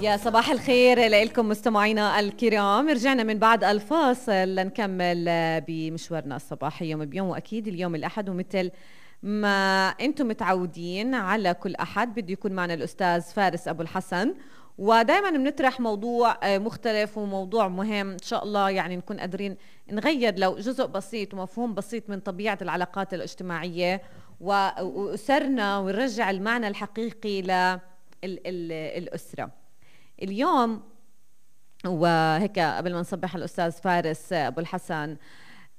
يا صباح الخير لكم مستمعينا الكرام. رجعنا من بعد الفاصل لنكمل بمشوارنا الصباحي يوم بيوم، وأكيد اليوم الأحد، ومثل ما أنتم متعودين على كل أحد بده يكون معنا الأستاذ فارس أبو الحسن، ودائما بنطرح موضوع مختلف وموضوع مهم إن شاء الله، يعني نكون قادرين نغير لو جزء بسيط ومفهوم بسيط من طبيعة العلاقات الاجتماعية وأسرنا، ونرجع المعنى الحقيقي للأسرة. اليوم وهيك قبل ما نصبح الأستاذ فارس أبو الحسن،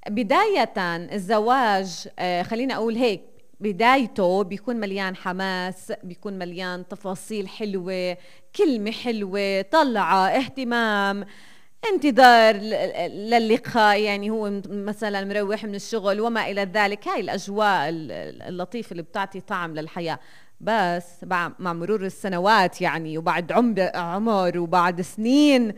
بداية الزواج خلينا أقول هيك، بدايته بيكون مليان حماس، بيكون مليان تفاصيل حلوة، كلمة حلوة، طلعة، اهتمام، انتظار للقاء، يعني هو مثلا مروح من الشغل وما إلى ذلك. هاي الأجواء اللطيفة اللي بتعطي طعم للحياة. بس مع مرور السنوات يعني، وبعد عمر وبعد سنين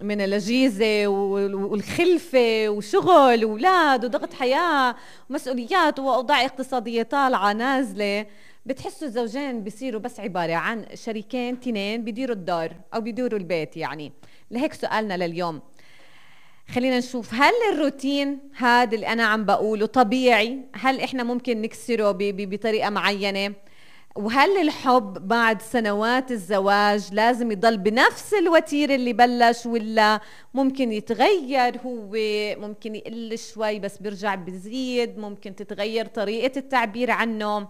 من الأجهزة والخلفة وشغل وأولاد وضغط حياة ومسؤوليات وأوضاع اقتصادية طالعة نازلة، بتحسوا الزوجين بيصيروا بس عبارة عن شريكين تنين بيديروا الدار أو بيديروا البيت. يعني لهيك سؤالنا لليوم، خلينا نشوف هل الروتين هذا اللي أنا عم بقوله طبيعي؟ هل إحنا ممكن نكسره بطريقة معينة؟ وهل الحب بعد سنوات الزواج لازم يضل بنفس الوتيرة اللي بلش، ولا ممكن يتغير؟ هو ممكن يقل شوي بس بيرجع بيزيد، ممكن تتغير طريقة التعبير عنه.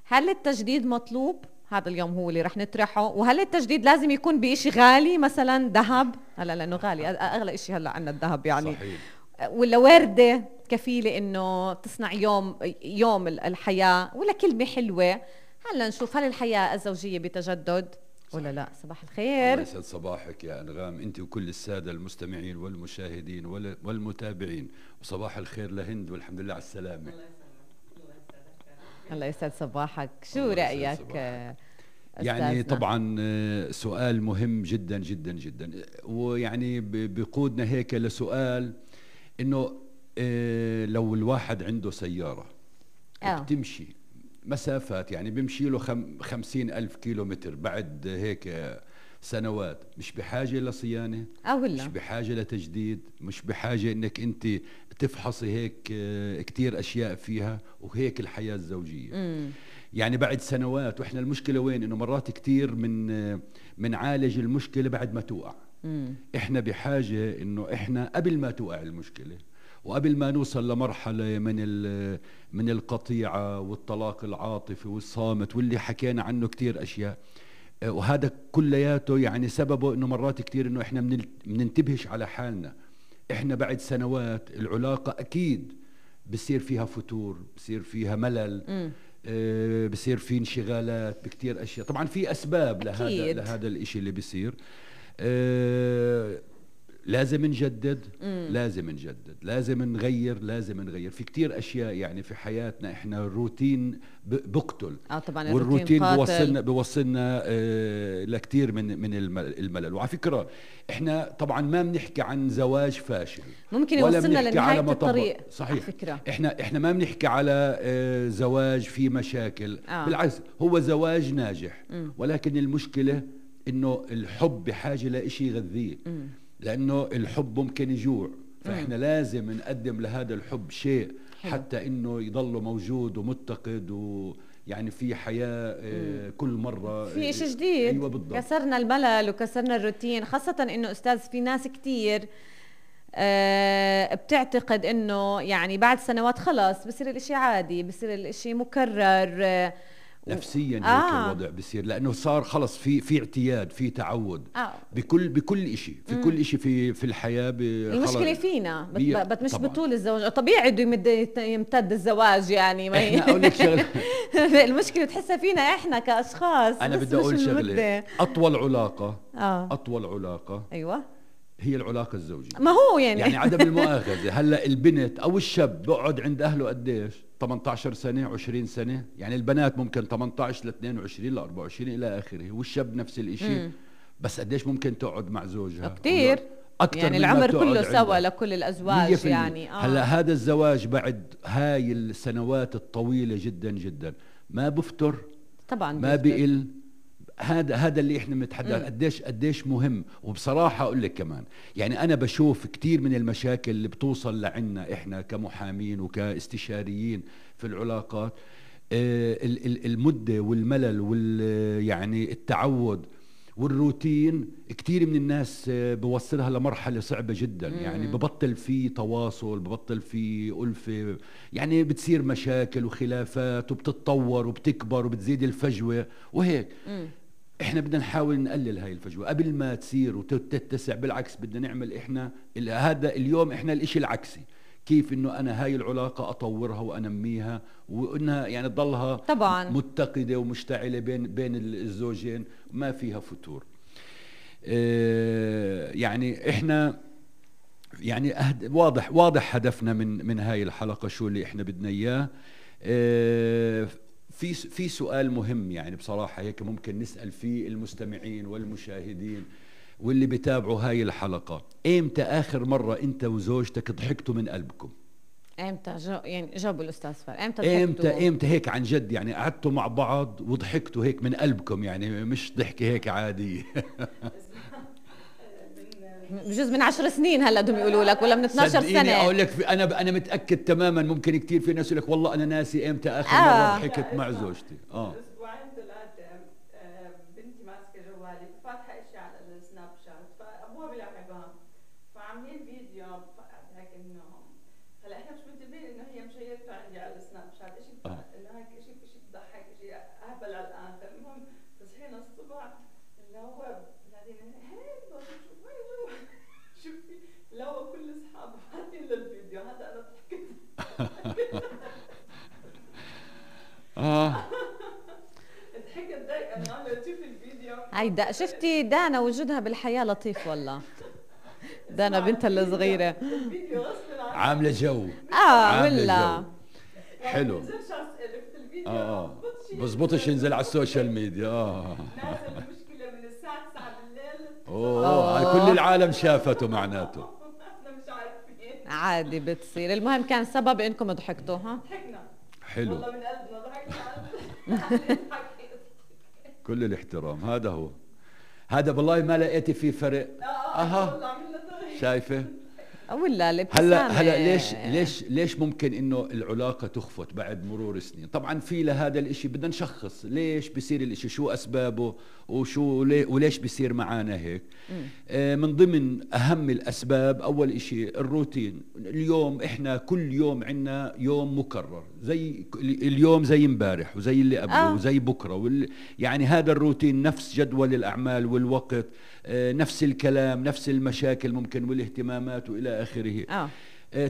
هل التجديد مطلوب؟ هذا اليوم هو اللي رح نطرحه. وهل التجديد لازم يكون بإشي غالي، مثلا ذهب؟ هلا لأنه غالي أغلى إشي هلا عنا الذهب يعني. صحيح. ولا وردة كفيلة إنه تصنع يوم الحياة، ولا كلمة حلوة؟ هلا نشوف هل الحياة الزوجية بتجدد ولا لا. صباح الخير. الله يسعد صباحك يا أنغام، أنت وكل السادة المستمعين والمشاهدين والمتابعين، وصباح الخير لهند، والحمد لله على السلامة. الله يسعد صباحك. شو رأيك يعني طبعا سؤال مهم جدا جدا جدا، ويعني بيقودنا هيك لسؤال إنه لو الواحد عنده سيارة بتمشي مسافات، يعني بيمشي له 50,000 كيلومتر بعد هيك سنوات، مش بحاجة لصيانة مش بحاجة لتجديد، مش بحاجة انك انت تفحصي هيك كتير اشياء فيها. وهيك الحياة الزوجية يعني بعد سنوات. واحنا المشكلة وين؟ انه مرات كتير من عالج المشكلة بعد ما توقع. احنا بحاجة انه احنا قبل ما توقع المشكلة، وقبل ما نوصل لمرحلة من القطيعة والطلاق العاطفي والصامت واللي حكينا عنه كتير أشياء، وهذا كلياته يعني سببه إنه مرات كتير إنه إحنا مننتبهش على حالنا. إحنا بعد سنوات العلاقة أكيد بصير فيها فتور، بصير فيها ملل، بصير في انشغالات بكتير أشياء. طبعا في أسباب لهذا الإشي اللي بصير. لازم نجدد، لازم نغير في كتير أشياء يعني في حياتنا. إحنا الروتين بقتل طبعا، والروتين بوصلنا لكتير من الملل. وعلى فكرة إحنا طبعا ما بنحكي عن زواج فاشل، ممكن يوصلنا لنهاية الطريق. صحيح. إحنا ما بنحكي على زواج فيه مشاكل، بالعكس هو زواج ناجح. ولكن المشكلة إنه الحب بحاجة لإشي يغذيه، لأنه الحب ممكن يجوع، فإحنا لازم نقدم لهذا الحب شيء حتى إنه يضل موجود ومتقد، ويعني في حياة كل مرة في إشي جديد. أيوة بالضبط. كسرنا الملل وكسرنا الروتين، خاصة إنه أستاذ في ناس كتير بتعتقد إنه يعني بعد سنوات خلاص بصير الإشي عادي، بصير الإشي مكرر نفسيا. هيك الوضع بصير، لانه صار خلص في اعتياد، في تعود بكل شيء، في كل شيء في الحياه. المشكله فينا مش بطول الزواج. طبيعي بده يمتد الزواج يعني، ما احنا اقول لك شغله المشكله بتحسها فينا احنا كاشخاص. انا بدي اقول شغله، اطول علاقه ايوه هي العلاقه الزوجيه. ما هو يعني عدم المؤاخذه. هلا البنت او الشاب بقعد عند اهله قديش؟ 18 سنة 20 سنة. يعني البنات ممكن 18 ل 22 ل 24 إلى آخره، والشاب نفس الإشي. بس قديش ممكن تقعد مع زوجها؟ كتير أكتر يعني العمر كله سوا لكل الأزواج يعني. هلا هذا الزواج بعد هاي السنوات الطويلة جدا جدا ما بفتر، طبعا ما بقل، هذا اللي احنا بنتحدث قديش مهم. وبصراحة اقول لك كمان يعني انا بشوف كتير من المشاكل اللي بتوصل لعنا احنا كمحامين وكاستشاريين في العلاقات، المدة والملل يعني التعود والروتين، كتير من الناس بوصلها لمرحلة صعبة جدا. يعني ببطل في تواصل، ببطل في ألفة، يعني بتصير مشاكل وخلافات وبتتطور وبتكبر وبتزيد الفجوة وهيك. احنا بدنا نحاول نقلل هاي الفجوة قبل ما تصير وتتسع. بالعكس بدنا نعمل احنا هذا اليوم احنا الاشي العكسي، كيف انه انا هاي العلاقة اطورها وانميها وانها يعني تضلها طبعا متقدة ومشتعلة بين الزوجين ما فيها فتور. يعني احنا يعني واضح هدفنا من هاي الحلقة شو اللي احنا بدنا اياه. في سؤال مهم يعني بصراحة هيك ممكن نسأل فيه المستمعين والمشاهدين واللي بيتابعوا هاي الحلقة. ايمتى اخر مرة انت وزوجتك ضحكتوا من قلبكم؟ امتى يعني جابوا الاستاذ فار امتى هيك عن جد يعني قعدتوا مع بعض وضحكتوا هيك من قلبكم، يعني مش ضحكة هيك عادية؟ بجوز من 10 سنين هلا بدهم يقولوا لك، ولا من 12 سنة. اقول لك انا متأكد تماما. ممكن كتير في ناس يقول لك والله انا ناسي امتى اخر مرة ضحكت مع زوجتي. اسبوعين ثلاثة بنتي ماسكة جوالي فاتحة اشي على السناب شات، فابوها بيلاحقها فعاملين فيديو هيك انه هلا احنا مش منتبهين انه هي مشيرته عندي على السناب شات، اشي انه هيك اشي بضحك، اشي اهبل على الاخر. المهم تصحينا الصبح اللي هو بعدين هيك شوفي اللي هو كل اصحابه حاطين للفيديو هذا انا ضحكت. ضحكت ضايقة انا تشوفي الفيديو. هيدا شفتي دانا وجودها بالحياة لطيف والله. دانا بنتها الصغيرة الفيديو غصب عنها عاملة جو. ولا حلو. بزبطش ينزل على السوشيال ميديا. نازل المشكلة من الساعة 9 بالليل. كل العالم شافته معناته. احنا مش عارفين. عادي بتصير. المهم كان سبب انكم ضحكتوا. ضحكنا. حلو. والله من قلبنا ضحكنا. كل الاحترام. هذا والله ما لقيتي فيه فرق. شايفه ولا الابتسامة. هلا ليش ممكن انه العلاقة تخفت بعد مرور سنين؟ طبعا في لهذا الاشي بدنا نشخص ليش بيصير الاشي، شو اسبابه وليش بيصير معانا هيك. من ضمن اهم الاسباب اول اشي الروتين. اليوم احنا كل يوم عنا يوم مكرر، زي اليوم زي امبارح وزي اللي قبله وزي بكره يعني هذا الروتين نفس جدول الاعمال والوقت، نفس الكلام، نفس المشاكل ممكن والاهتمامات والى اخره.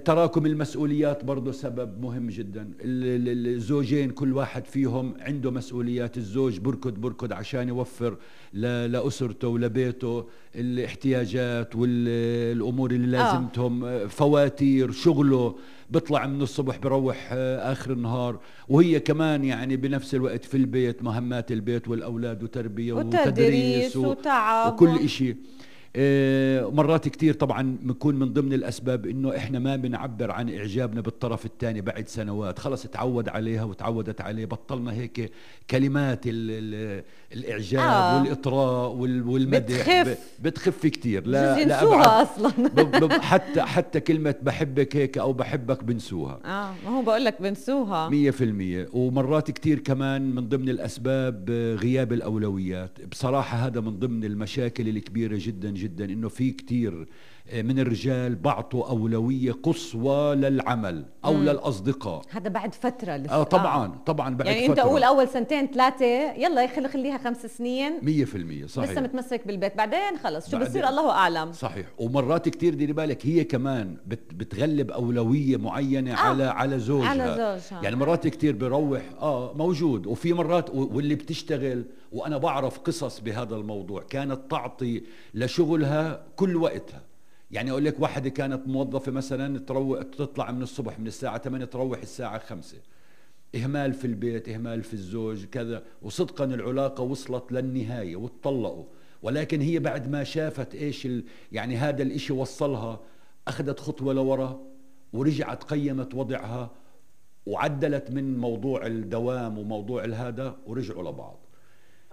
تراكم المسؤوليات برضو سبب مهم جدا. الزوجين كل واحد فيهم عنده مسؤوليات. الزوج بركض عشان يوفر لأسرته ولبيته الاحتياجات والأمور اللي لازمتهم، فواتير شغله، بيطلع من الصبح بروح آخر النهار، وهي كمان يعني بنفس الوقت في البيت، مهمات البيت والأولاد وتربية وتدريس وتعب وكل إشي. مرات كتير طبعا بنكون من ضمن الأسباب إنه إحنا ما بنعبر عن إعجابنا بالطرف الثاني بعد سنوات، خلص تعود عليها وتعودت عليه، بطلنا هيك كلمات الإعجاب والإطراء والمدح بتخف كتير. لا ينسوها أصلا. حتى كلمة بحبك هيك أو بحبك بنسوها. ما هو بقول لك بنسوها 100%. ومرات كتير كمان من ضمن الأسباب غياب الأولويات. بصراحة هذا من ضمن المشاكل الكبيرة جدا جدا، انه في كتير من الرجال بعطوا أولوية قصوى للعمل أو للأصدقاء. هذا بعد فترة لسه. طبعا بعد يعني فترة. أنت أقول أول سنتين ثلاثة يلا خليها 5 سنين 100% صحيح. لسه متمسك بالبيت، بعدين خلص شو بصير الله أعلم. صحيح. ومرات كتير ديري بالك هي كمان بتغلب أولوية معينة على زوجها. يعني مرات كتير بروح موجود، وفي مرات واللي بتشتغل. وأنا بعرف قصص بهذا الموضوع كانت تعطي لشغلها كل وقتها. يعني أقول لك واحدة كانت موظفة مثلا تطلع من الصبح من الساعة 8 تروح الساعة 5. إهمال في البيت، إهمال في الزوج كذا، وصدقا العلاقة وصلت للنهاية واتطلقوا. ولكن هي بعد ما شافت إيش يعني هذا الإشي وصلها، أخذت خطوة لورا ورجعت قيمت وضعها وعدلت من موضوع الدوام وموضوع هذا ورجعوا لبعض.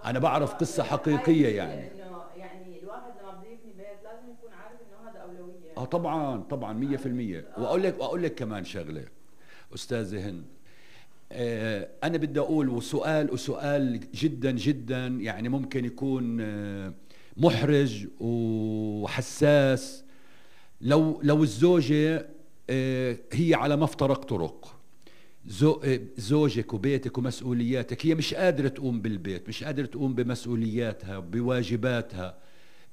انا بعرف قصة حقيقية يعني. انه يعني الواحد لما بده يبني بيت لازم يكون عارف انه هذا اولوية. طبعا 100%. واقول لك كمان شغلة استاذة هند، انا بدي اقول وسؤال جدا جدا يعني ممكن يكون محرج وحساس. لو الزوجة هي على مفترق طرق، زوجك وبيتك ومسؤولياتك، هي مش قادرة تقوم بالبيت، مش قادرة تقوم بمسؤولياتها بواجباتها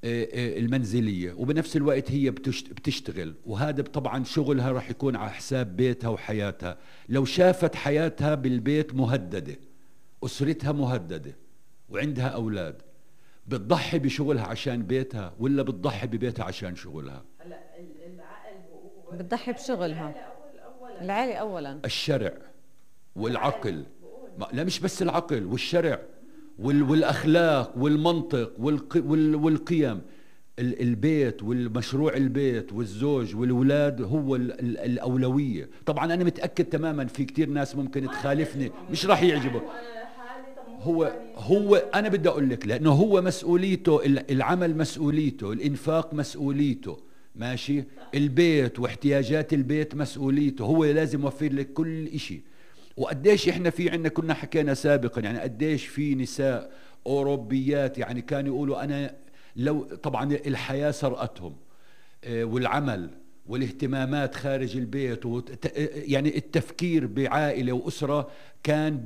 المنزلية، وبنفس الوقت هي بتشتغل، وهذا طبعا شغلها راح يكون على حساب بيتها وحياتها. لو شافت حياتها بالبيت مهددة، أسرتها مهددة، وعندها أولاد، بتضحي بشغلها عشان بيتها ولا بتضحي ببيتها عشان شغلها؟ هلا العقل بتضحي بشغلها. العائلة أولا، الشرع والعقل، لا مش بس العقل والشرع والأخلاق والمنطق والقيم. البيت والمشروع البيت والزوج والأولاد هو الأولوية. طبعا أنا متأكد تماما في كتير ناس ممكن تخالفني، مش راح يعجبه. هو أنا بدي أقول لك، لأنه هو مسؤوليته، العمل مسؤوليته، الإنفاق مسؤوليته، ماشي، البيت واحتياجات البيت مسؤوليته، هو لازم يوفر لك كل إشي. وقديش إحنا في عنا كنا حكينا سابقا يعني قديش في نساء أوروبيات يعني كانوا يقولوا أنا لو طبعا الحياة سرقتهم والعمل والاهتمامات خارج البيت يعني التفكير بعائلة وأسرة كان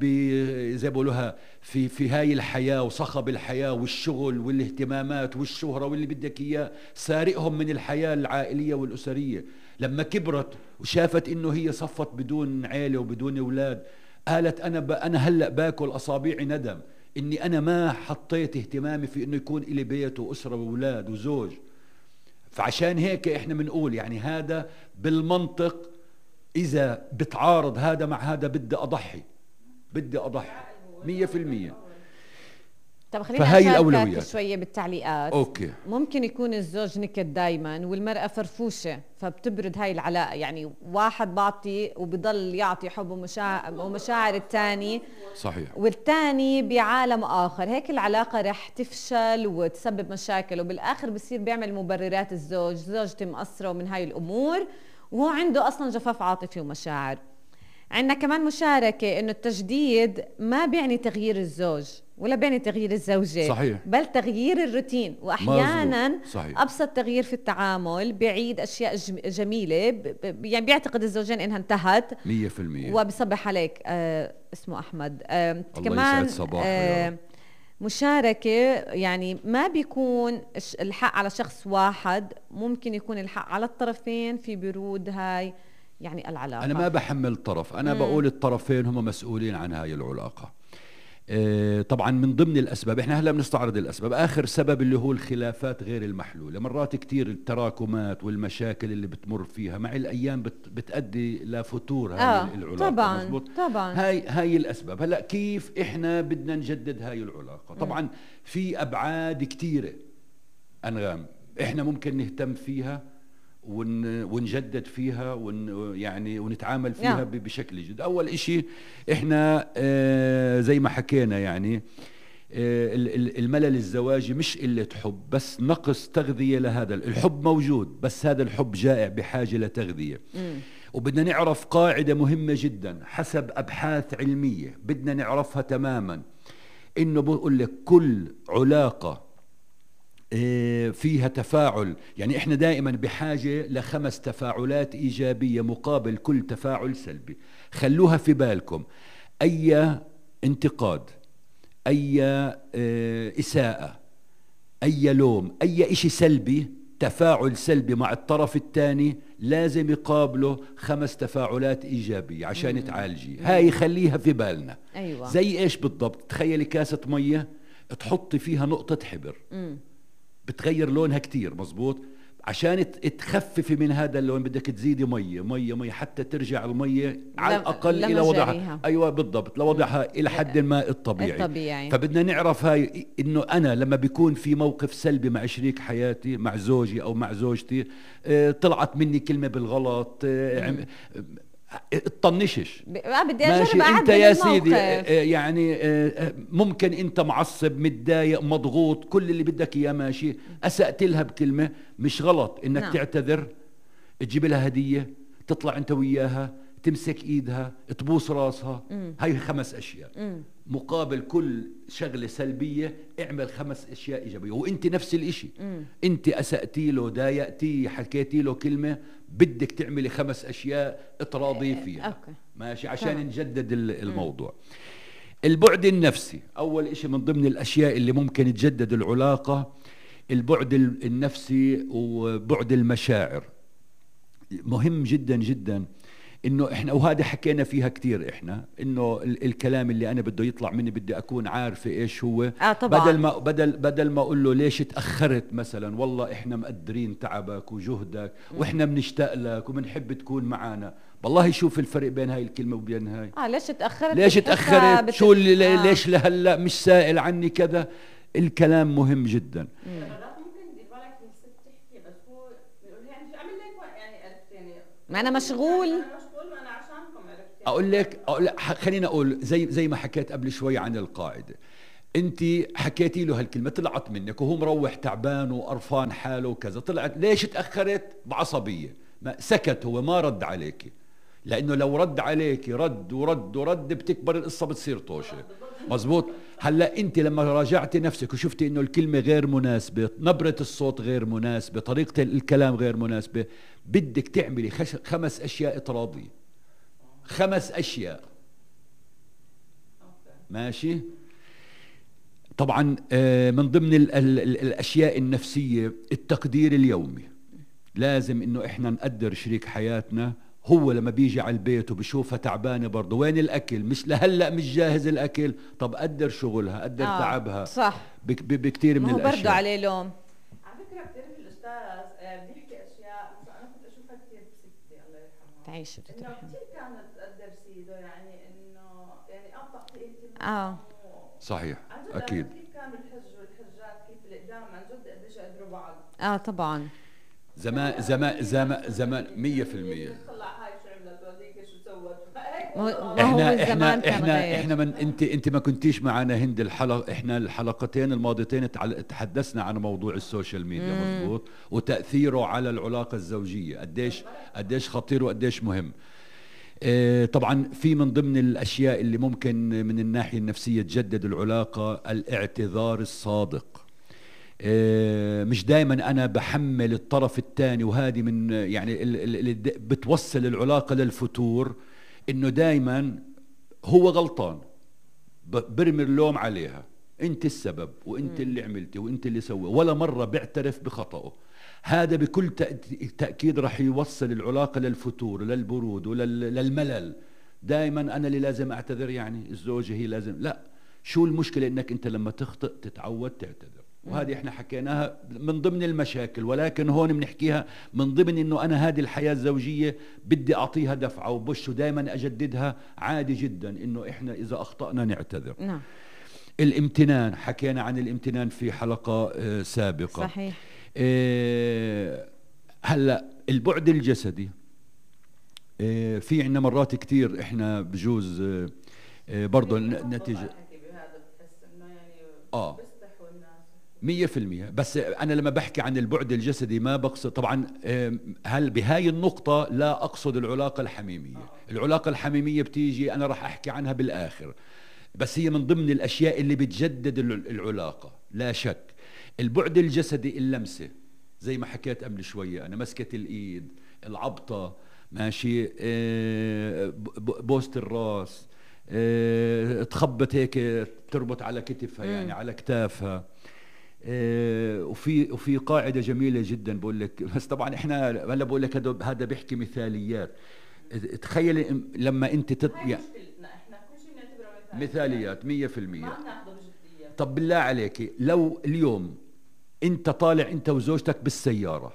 زي بقولوها في هاي الحياة وصخب الحياة والشغل والاهتمامات والشهرة واللي بدك إياه سارقهم من الحياة العائلية والأسرية. لما كبرت وشافت إنه هي صفت بدون عائلة وبدون أولاد، قالت أنا هلأ باكل أصابعي ندم إني أنا ما حطيت اهتمامي في إنه يكون إلي بيت وأسرة وأولاد وزوج. فعشان هيك إحنا بنقول يعني هذا بالمنطق إذا بتعارض هذا مع هذا بدي أضحي 100%. طب خلينا أشاركك شوية بالتعليقات. أوكي. ممكن يكون الزوج نكد دايما والمرأة فرفوشة فبتبرد هاي العلاقة، يعني واحد بعطي وبضل يعطي حب ومشاعر الثاني، صحيح، والثاني بعالم آخر، هيك العلاقة رح تفشل وتسبب مشاكل، وبالآخر بصير بيعمل مبررات زوجتي مقصرة ومن هاي الأمور، وهو عنده أصلا جفاف عاطفي ومشاعر. عندنا كمان مشاركة إنه التجديد ما بيعني تغيير الزوج ولا بيعني تغيير الزوجة، صحيح، بل تغيير الروتين، وأحيانا صحيح. أبسط تغيير في التعامل بيعيد أشياء جميلة، يعني بيعتقد الزوجين إنها انتهت 100%، وبصبح عليك. اسمه أحمد. كمان مشاركة يعني ما بيكون الحق على شخص واحد، ممكن يكون الحق على الطرفين في برود هاي يعني العلاقة. أنا ما بحمل طرف، أنا بقول الطرفين هم مسؤولين عن هاي العلاقة. طبعا من ضمن الأسباب، إحنا هلأ بنستعرض الأسباب. آخر سبب اللي هو الخلافات غير المحلولة. مرات كتير التراكمات والمشاكل اللي بتمر فيها مع الأيام بتؤدي لفتور هاي العلاقة. طبعا هاي الأسباب. هلأ كيف إحنا بدنا نجدد هاي العلاقة؟ طبعا في أبعاد كتيرة أنغام إحنا ممكن نهتم فيها ونجدد فيها يعني ونتعامل فيها بشكل جد. أول إشي إحنا زي ما حكينا يعني الملل الزواجي مش قلة حب، بس نقص تغذية لهذا الحب. موجود بس هذا الحب جائع بحاجة لتغذية. وبدنا نعرف قاعدة مهمة جدا حسب أبحاث علمية بدنا نعرفها تماما، إنه بقول لك كل علاقة فيها تفاعل، يعني احنا دائما بحاجة ل5 تفاعلات إيجابية مقابل كل تفاعل سلبي. خلوها في بالكم، أي انتقاد، أي إساءة، أي لوم، أي إشي سلبي، تفاعل سلبي مع الطرف الثاني لازم يقابله 5 تفاعلات إيجابية عشان تعالجي. هاي خليها في بالنا. أيوة. زي إيش بالضبط؟ تخيلي كاسة مية تحطي فيها نقطة حبر، بتغير لونها كتير، مزبوط؟ عشان تخففي من هذا اللون بدك تزيدي مية على ترجع المية على الأقل إلى وضعها. أيوة بالضبط، لوضعها إلى حد ما الطبيعي. فبدنا نعرف هاي إنه أنا لما بيكون في موقف سلبي مع شريك حياتي، مع زوجي أو مع زوجتي، طلعت مني كلمة بالغلط، اطنشش. بدي ماشي اجرب انت يا الموقف. سيدي يعني ممكن انت معصب متضايق مضغوط كل اللي بدك اياه ماشي، اسأت لها بكلمة مش غلط انك نعم. تعتذر، تجيب لها هدية، تطلع انت وياها، تمسك ايدها، تبوس راسها. هاي 5 اشياء. مقابل كل شغلة سلبية اعمل 5 اشياء ايجابية. وانت نفس الاشي، انت اسأتي له، ضايقتي، حكيتي له كلمة، بدك تعملي 5 اشياء تراضي فيها. أوكي. ماشي عشان نجدد الموضوع. البعد النفسي اول اشي من ضمن الاشياء اللي ممكن تجدد العلاقة، البعد النفسي وبعد المشاعر مهم جدا جدا. انه احنا وهذا حكينا فيها كتير احنا، انه الكلام اللي انا بده يطلع مني بدي اكون عارفه ايش هو. طبعا. بدل ما اقول له ليش تاخرت مثلا، والله احنا مقدرين تعبك وجهدك واحنا بنشتاق لك وبنحب تكون معنا. والله شوف الفرق بين هاي الكلمه وبين هاي. ليش تاخرت شو اللي ليش لهلا مش سائل عني كذا. الكلام مهم جدا. ما انا مشغول. اقول لك خلينا اقول زي ما حكيت قبل شوي عن القاعده. انت حكيتي له هالكلمه طلعت منك وهو مروح تعبان وقرفان حاله وكذا، طلعت ليش تاخرت بعصبيه، ما سكت هو ما رد عليك. لانه لو رد عليك رد ورد ورد بتكبر القصه بتصير طوشه. مزبوط. هلا انت لما راجعتي نفسك وشفتي انه الكلمه غير مناسبه، نبره الصوت غير مناسبه، طريقه الكلام غير مناسبه، بدك تعملي 5 اشياء تراضي. 5 اشياء. ماشي. طبعا من ضمن الاشياء النفسيه التقدير اليومي. لازم انه احنا نقدر شريك حياتنا. هو لما بيجي على البيت وبشوفها تعبانه برضه، وين الاكل؟ مش لهلا مش جاهز الاكل. طب قدر شغلها، قدر تعبها. صح. بكثير من الاشياء. برضه عليه لوم. على فكره بتعرف الاستاذ بيحكي اشياء مثلا انا كنت اشوفها كثير بستي الله يرحمها. تعيش انه كثير كانت تقدر سيده، يعني انه يعني ابطا صحيح اكيد. كيف كانوا الحج والحجات كيف الاقدام عن جد قديش قدروا بعض. طبعا. زمان 100%. احنا من انت ما كنتيش معنا هند الحلقه. احنا الحلقتين الماضيتين تحدثنا عن موضوع السوشيال ميديا. مزبوط. وتاثيره على العلاقه الزوجيه قديش خطير وقديش مهم. طبعا في من ضمن الاشياء اللي ممكن من الناحيه النفسيه تجدد العلاقه الاعتذار الصادق. مش دائما انا بحمل الطرف الثاني، وهذه من يعني اللي بتوصل العلاقه للفتور، انه دائما هو غلطان، برمي اللوم عليها، انت السبب وانت اللي عملتي وانت اللي سوى، ولا مره بيعترف بخطأه. هذا بكل تأكيد رح يوصل العلاقه للفتور، للبرود وللملل. دائما انا اللي لازم اعتذر، يعني الزوجه هي لازم. لا، شو المشكله انك انت لما تخطئ تتعود تعتذر. وهذه احنا حكيناها من ضمن المشاكل، ولكن هون بنحكيها من ضمن انه انا هذه الحياة الزوجية بدي اعطيها دفعة وبش ودائما اجددها. عادي جدا انه احنا اذا اخطأنا نعتذر. نعم. الامتنان، حكينا عن الامتنان في حلقة سابقة. صحيح. هلا البعد الجسدي، في عنا مرات كتير احنا بجوز برضو نتيجة 100%. بس أنا لما بحكي عن البعد الجسدي ما بقصد طبعا هل بهاي النقطة لا أقصد العلاقة الحميمية. العلاقة الحميمية بتيجي أنا راح أحكي عنها بالآخر، بس هي من ضمن الأشياء اللي بتجدد العلاقة لا شك. البعد الجسدي، اللمسة زي ما حكيت قبل شوية، أنا مسكة الإيد، العبطة، ماشي، بوست الراس، تخبط هيك تربط على كتفها، يعني على كتافها. وفي قاعدة جميلة جدا بقول لك، بس طبعا احنا هلا بقول لك هذا بيحكي مثاليات. تخيل لما انت احنا كل شيء بنعتبره مثاليات 100%. ما بناخذه بجدية. طب بالله عليك لو اليوم انت طالع انت وزوجتك بالسيارة،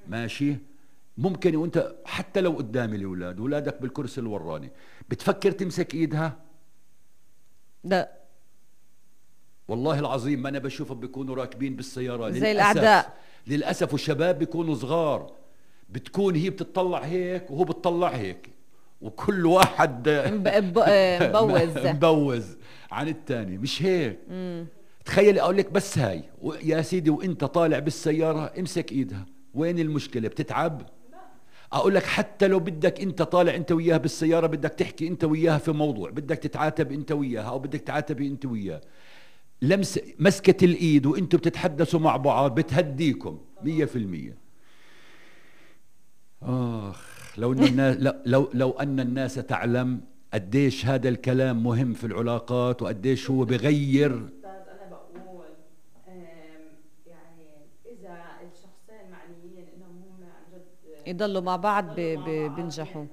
ماشي، ممكن وانت حتى لو قدام الاولاد، اولادك بالكرسي الوراني، بتفكر تمسك ايدها؟ لا والله العظيم ما أنا بشوفهم بيكونوا راكبين بالسيارة زي الأعداء للأسف، والشباب بيكونوا صغار، بتكون هي بتطلع هيك وهو بتطلع هيك، وكل واحد مبوز عن الثاني. مش هيك. تخيل اقول لك بس هاي يا سيدي وانت طالع بالسيارة امسك ايدها، وين المشكلة؟ بتتعب؟ اقول لك حتى لو بدك انت طالع انت وياها بالسيارة، بدك تحكي انت وياها في موضوع، بدك تتعاتب انت وياها او بدك تعاتبي انت وياه، مسكة الايد وانتوا بتتحدثوا مع بعض بتهديكم 100%. لو ان الناس تعلم قديش هذا الكلام مهم في العلاقات وقديش هو بغير. انا بقول يعني اذا الشخصين معنيين انهم هم عن جد يضلوا مع بعض بينجحوا.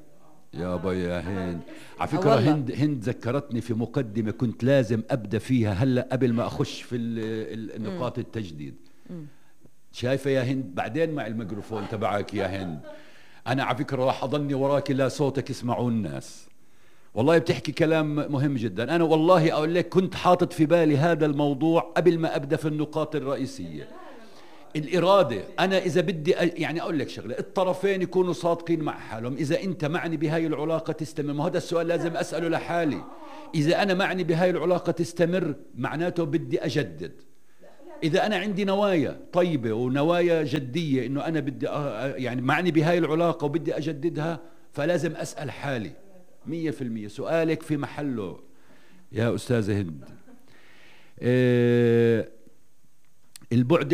يا هند على فكرة هند ذكرتني في مقدمة كنت لازم أبدأ فيها هلأ قبل ما أخش في النقاط التجديد. شايفة يا هند؟ بعدين مع الميكروفون تبعك يا هند. أنا على فكرة راح أضلني وراك لا صوتك يسمعون الناس. والله بتحكي كلام مهم جدا. أنا والله أقول لك كنت حاطط في بالي هذا الموضوع قبل ما أبدأ في النقاط الرئيسية. الإرادة. أنا إذا بدي يعني أقول لك شغلة، الطرفين يكونوا صادقين مع حالهم. إذا أنت معني بهاي العلاقة تستمر، ما هذا السؤال لازم أسأله لحالي. إذا أنا معني بهاي العلاقة تستمر معناته بدي أجدد. إذا أنا عندي نوايا طيبة ونوايا جدية إنه أنا بدي يعني معني بهاي العلاقة وبدي أجددها، فلازم أسأل حالي 100%. سؤالك في محله يا أستاذة هند. البعد